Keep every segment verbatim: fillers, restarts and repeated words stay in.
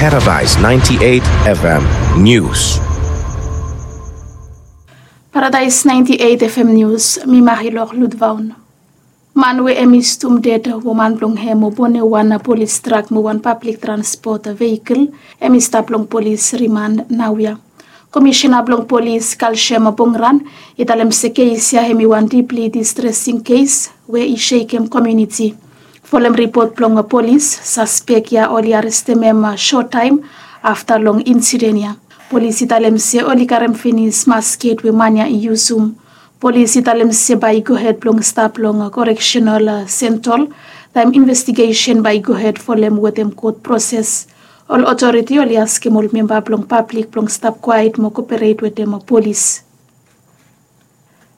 Paradise ninety-eight F M News. Paradise ninety-eight F M News, mi Marilor Ludvaun. Man we hemi stum ded, woman blong hem mo bone wan polis trak mo wan pablik transpot vehikel, hemi stap long polis rimand naoia. Komisena blong polis Kalshem Bongran i talem se kes ya hemi wan dipli distresing kes we i sekem komuniti. Folem ripot blong polis, saspek ya oli arestem hem sot taem afta long insiden ya. Polis i talem se oli karem finis masket we man ya i yusum. Polis i talem se bae i gohed blong stap long koreksenal sentol taem investigesen bae i gohed folem wetem kot proses. Ol otoriti oli askem ol memba blong pablik blong stap kwaet mo koperate wetem polis.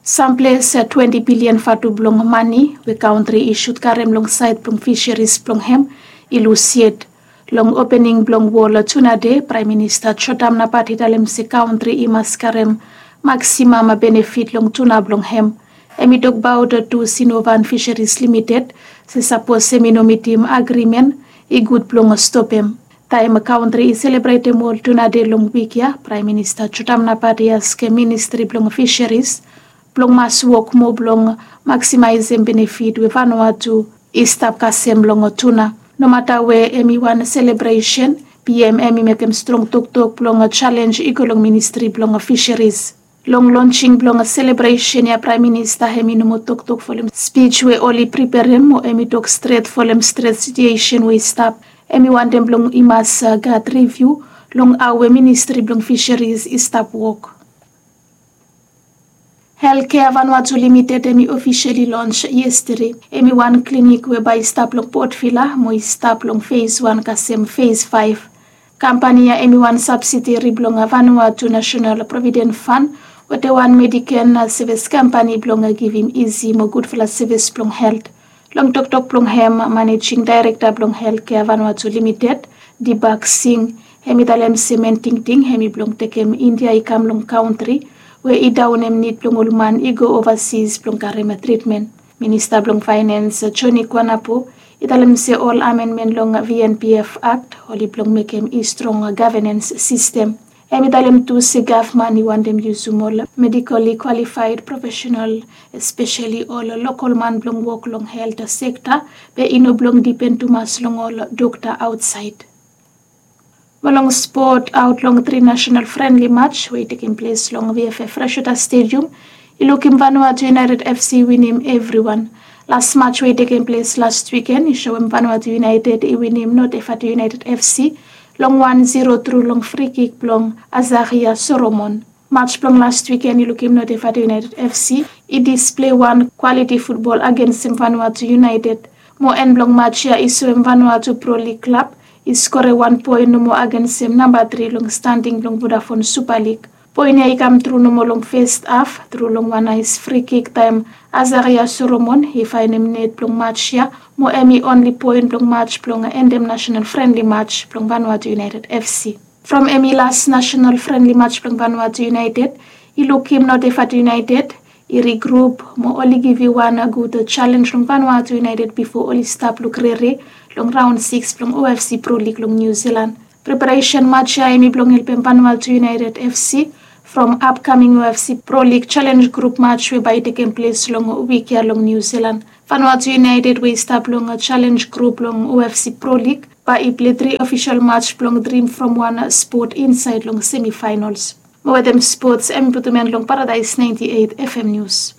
Samples twenti bilian vatu blong mane we kaontri i sud karem long saed blong fiseris blong hem i lus yet. Long opening blong wol tuna dei, Praem Minista Jotam Napat i talem se kaontri i mas karem maksimam benefit long tuna blong hem. Hem i tokbaot tu Sinovan Fiseris Limited se sapos hem i no mitim agrimen, i gud blong stopem. Taem kaontri i selebretem wol tuna dei long wik ya, Praem Minista Jotam Napat i askem Ministri blong Fiseris blong mas wok moa blong maksimaesem benefit we Vanuatu i stap kasem long tuna. Nomata we hem i wan selebresen, P M hem i mekem strong toktok blong jalenj i go long Ministri blong Fiseris. Long lonsing blong selebresen ya, Praem Minista hem i no moa toktok folem spij we oli priperem mo hem i tok stret folem stret situesen we i stap. Hem i wantem blong i mas gat riviu long hao we Ministri blong Fiseris i stap wok. Healthcare Vanuatu Limited hem i ofiseli lons yestede. Hem i wan klinik we bae i stap long Port Vila mo i stap long fes wan kasem fes faef. Kampani ya hem i wan sabsideri blong Vanuatu National Provident Fund wetem wan Medicaid sevis kampani blong givim isi mo gudfala sevis blong helt. Long toktok blong hem, Manejing Daerekta blong Healthcare Vanuatu Limited, Dibak Singh, hem i talem se men tingting hem i blong tekem India i kam long kaontri we i daonem nid blong ol man i go ovasis blong karem tritmen. Minista blong Faenens Joni Kuanapu i talem se ol amenmen long V N P F Akt oli blong mekem i strong gavenens sistem. Hem i talem tu se gavman i wantem yusum ol medikali kwalifaed profesenal, espeseli ol lokol man blong wok long helt sekta, be i no blong dipen tumas long ol dokta aotsaed. Mo long spot, aot long tri nasenal frenli maj we i tekem ples long V F F Freshwater Stadium i lukim Vanuatu United F C winim evriwan. Las maj we i tekem ples las wiken i soem Vanuatu United i winim North Efatu United F C long wan ziro tru long frikik blong Azaria Solomon. Maj blong las wiken i lukim North Efatu United F C i displei wan kwaliti futbol agensem Vanuatu United. Mo en blong maj ya i soem Vanuatu Pro League klab i skorem wan poen nomo agensem namba tri long standing blong Vodafone Super League. Poen ya i kam tru nomo long fes haf tru long wan naes frikik taem Azaria Solomon i faenem net blong maj ya, mo hem i onli poen blong maj blong endem nasenal frenli maj blong Vanuatu United F C. From hem i las nasenal frenli maj blong Vanuatu United, i lukim North Efatu United i rigrup mo oli givim wan gud jalenj long Vanuatu United bifo oli stap luk rere long raon sikis blong O F C Pro League long Niu Silan. Preparesen maj ya hem i blong helpem Vanuatu United F C from apkaming O F C Pro League jalenj grup maj we bae i tekem ples long wik ya long Niu Silan. Vanuatu United we i stap long jalenj grup blong O F C Pro League bae i plei tri ofisol maj blong drim from wan spot insaed long semifaenols. Mo wetem spots, hem i putum en long Paradise ninety-eight F M News.